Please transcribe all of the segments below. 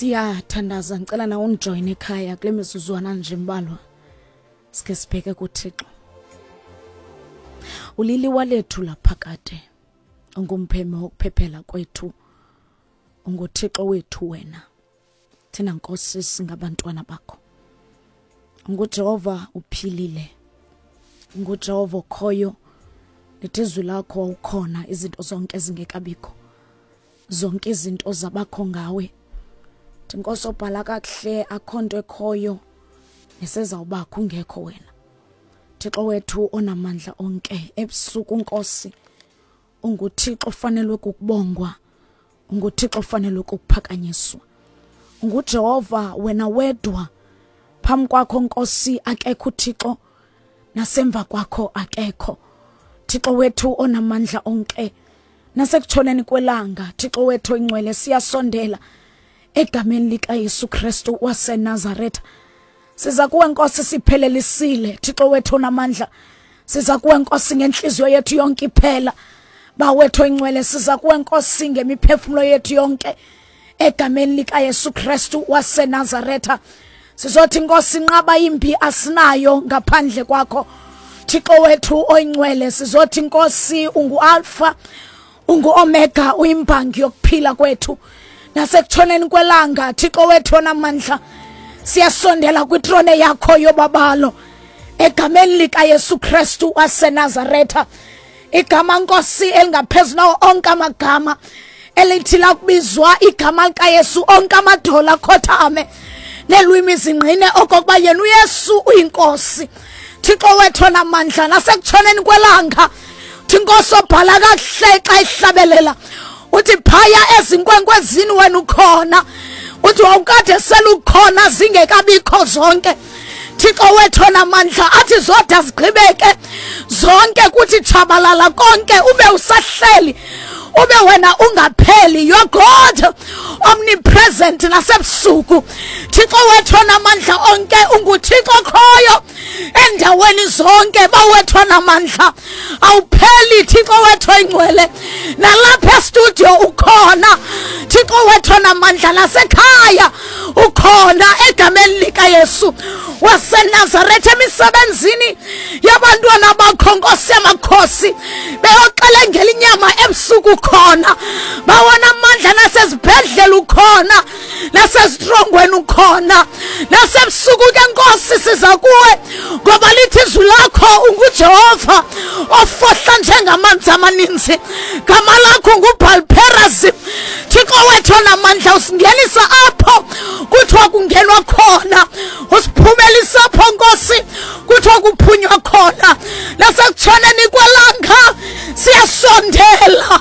Siyathandaza, ngicela na undijoyine ekhaya kule mizuzwana nje mbalwa. Sike sibheke kuThixo. Uliliwa lethu laphakade. Ungumpheme wokuphephela kwethu. UnguThixo wethu wena. Thina Nkosi singabantwana bakho. NguJehova uphilile. NguJehova okhoyo. Lithi izwi lakho wawukhona izinto zonke zingekabikho. Zonke izinto zabakho ngawe. Nkosi obhala kakuhle akho nto ekhoyo nesezawubakho ungekho wena. Thixo wethu onamandla onke ebusuku Nkosi unguThixo ofanelwe kukubongwa, unguThixo ofanelwe kukuphakanyiswa. UnguJehova wena wedwa, phambi kwakho Nkosi akekho uThixo, nasemva kwakho akekho. Thixo wethu onamandla onke, nasekutshoneni kwelanga Thixo wethu oyingcwele siyasondela egameni likaYesu Kristu waseNazaretha. Siza kuwe Nkosi siphelelisile Thixo wethu onamandla. Siza kuwe Nkosi ngenhliziyo yethu yonke iphela. Bawethu oyingcwele siza kuwe Nkosi ngemiphefumulo yethu yonke egameni likaYesu Kristu waseNazaretha. Sizothi Nkosi inqaba imbi asinayo ngaphandle kwakho. Thixo wethu oyingcwele sizothi Nkosi unguAlpha unguOmega uyimbangi yokuphila kwethu. Nasekutshoneni kwelanga Thixo wethu onamandla siyasondela kwitrone yakho yobabalo egameni likaYesu Kristu waseNazaretha. Igama Nkosi elingaphezu nawo onke amagama, elithi lakubizwa igama likaYesu onke amadola akhothame nelwimi zingqine okokuba yena uYesu uyinkosi. Thixo wethu onamandla, nasekutshoneni kwelanga uthi Nkosi obhala kakuhle xa ihlabelela uthi phaya ezinkwenkwezini wena ukhona, uthi wawukade selukhona zingekabikho zonke. Thixo wethu onamandla athi zoda zigqibeke zonke kuthi tshabalala konke ube usahleli, ube wena ungapheli. You are God omnipresent nasebusuku. Thixo wethu onamandla onke unguThixo khoyo endaweni zonke. Bawethu onamandla awupheli Thixo wethu oyingcwele, nalapha estudio ukhona Thixo wethu onamandla, nasekhaya ukhona egameni likaYesu waseNazaretha. Emisebenzini yabantwana bakho Nkosi yamakhosi beyoxelengela inyama ebusuku khona, bawona amandla, nasezibhedlela ukhona, nasezitrongweni ukhona, nasebusuku ke Nkosi siza kuwe ngoba lithi izwi lakho unguJehova ofohla njengamanzi amaninzi, gama lakho nguBhalperazim. Thixo wethu onamandla usingenisa apho kuthiwa kungenwa khona, usiphumelisa apho Nkosi kuthiwa kuphunywa khona. Nasekutshoneni kwelanga siyasondela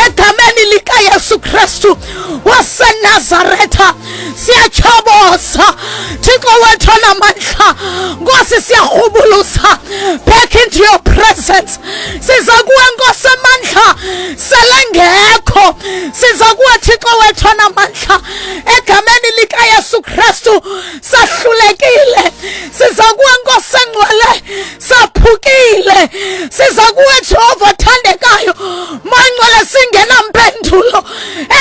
egameni likaYesu Kristu waseNazaretha, siyatyhoboza Thixo wethu onamandla. Nkosi siyarhubuluza back into your presence. Siza kuwe Nkosi amandla selengekho, siza kuwe Thixo wethu onamandla egameni likaYesu Kristu. Sahlulekile, siza kuwe Nkosi engcwele, saphukile, siza kuwe Jehova othandekayo mangcwele singenampendulo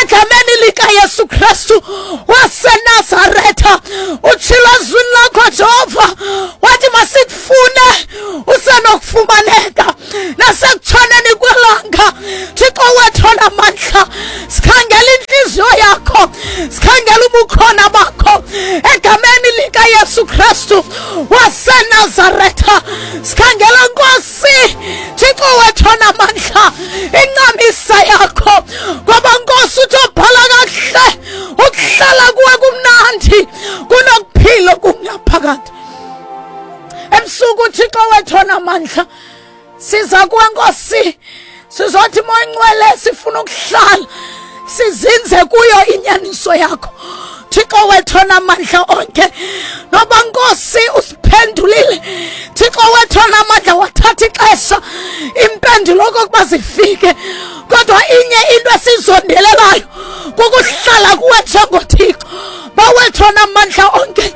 egameni likaYesu Kristu waseNazaretha. Utshilo ezwini lakho Jehova wathi masikufune usenokufumaneka nasekutshoneni kwelanga. Thixo wethu onamandla sikhangela inhliziyo yakho, sikhangela ubukhona bakho egameni likaYesu Kristu waseNazaretha. Sikhangela Nkosi Thixo wethu onamandla incamisa yakho, ngoba Nkosi uthi obhala kakuhle ukuhlala kuwe kumnandi kunokuphila okungaphakathi. Ebusuku Thixo wethu onamandla siza kuwe Nkosi, sizothi Moya Ngcwele sifuna ukuhlala sizinze kuyo inyaniso yakho Thixo wethu onamandla onke. Noba Nkosi usiphendulile Thixo wethu onamandla, wathatha ixesha impendulo okokuba zifike, kodwa inye into esizondelelayo kukuhlala kuwe njengoThixo bawethu onamandla onke.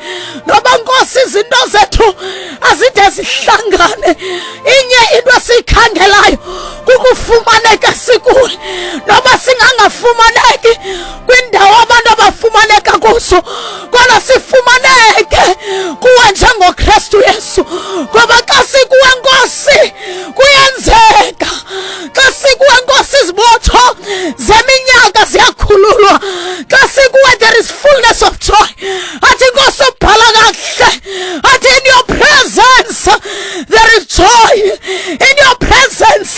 Noba Nkosi izinto zethu azide zihlangane, inye into esiyikhangelayo kukufumaneka sikuwe, noba singangafumaneki kwindawo abantu abafumaneka kuzo. Yesu, kodwa sifumaneke kuwe njengoKristu Yesu. Ngoba xa sikuwe Nkosi kuyenzeka, xa sikuwe Nkosi izibotho zeminyaka ziyakhululwa, xa sikuwe there is fullness of joy. Athi Nkosi ubhala kakuhle, athi in your presence there is joy, in your presence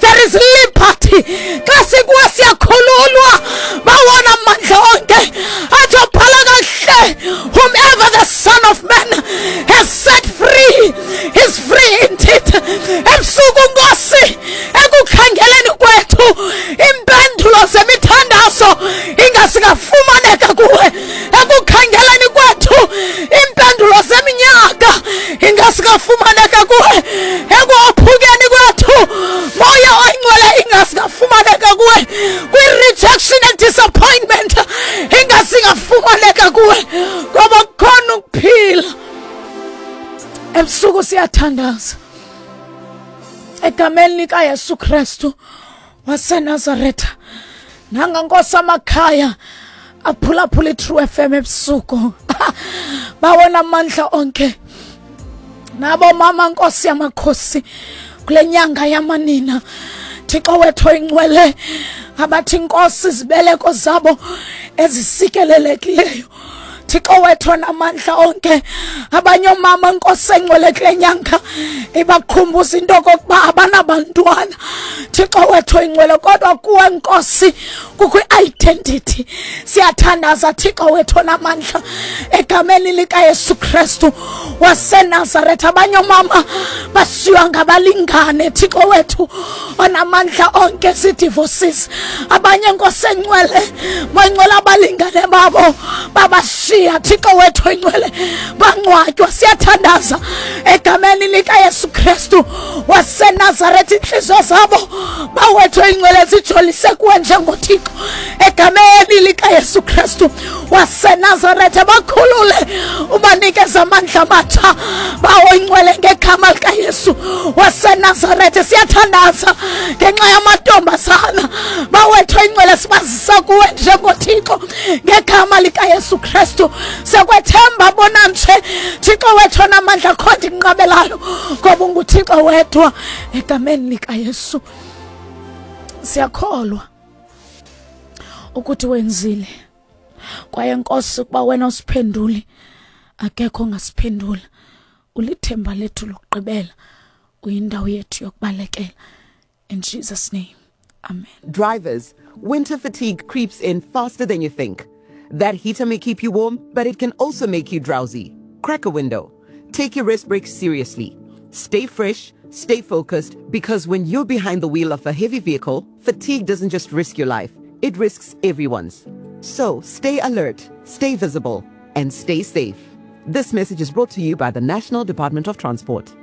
there is liberty. Xa sikuwe siyakhululwa, bawona amandla onke. Athi ubhala kakuhle, whomever the Son of Man has set free is free indeed. Ebusuku Nkosi, ekukhangeleni kwethu impendulo zemithandazo ingasingafumaneka kuwe. Ekukhangeleni kwethu impendulo zeminyaka ingasingafumaneka kuwe. Ekuophukeni kwethu Moya Oyingcwele ingasingafumaneka kuwe. Kwi-rejection and disappointment ingasingafumaneka kuwe, ngoba kukhona ukuphila. Ebusuku siyathandaza egameni likaYesu Kristu waseNazaretha. Nanga Nkosi amakhaya aphulaphula iTrue FM ebusuku, bawona amandla onke. Nabo mama Nkosi yamakhosi, kule nyanga yamanina, Thixo wethu oyingcwele, abathi Nkosi izibeleko zabo ezisikelelekileyo, Thixo wethu onamandla onke. Abanye oomama Nkosi engcwele kule nyanga ibakhumbuza into okokuba abanabantwana, Thixo wethu oyingcwele, kodwa kuwe Nkosi kukho i-identity. Siyathandaza Thixo wethu onamandla egameni likaYesu Kristu waseNazaretha. Abanye oomama bashiywa ngabalingane, Thixo wethu onamandla onke, zii-divorces. Abanye Nkosi engcwele, bangcwele, abalingane babo babashiya, Thixo wethu oyingcwele, bangcwatywa. Siyathandaza egameni likaYesu Kristu waseNazaretha, iintliziyo zabo bawethu oyingcwele zijolise kuwe njengoThixo. Egameni likaYesu Kristu waseNazaretha, bakhulule, ubanikeze amandla amatsha, bawo ingcwele, ngegama likaYesu waseNazaretha. Siyathandaza ngenxa yamantombazana bawethu ingcwele, sibazisa kuwe njengoThixo ngegama likaYesu Kristu. Siyakwethemba bona nje, Thixo wethu onamandla, kho ndinqabelayo, ngoba unguThixo wedwa. Egameni likaYesu siyakholwa ukuthi wenzile, kwaye Nkosi ukuba wena usiphenduli, akekho ongasiphendula. Ulithemba lethu lokugqibela, uyindawo yethu yokubalekela. In Jesus' name, amen. Drivers, winter fatigue creeps in faster than you think. That heater may keep you warm, but it can also make you drowsy. Crack a window. Take your rest break seriously. Stay fresh, stay focused, because when you're behind the wheel of a heavy vehicle, fatigue doesn't just risk your life, it risks everyone's. So stay alert, stay visible, and stay safe. This message is brought to you by the National Department of Transport.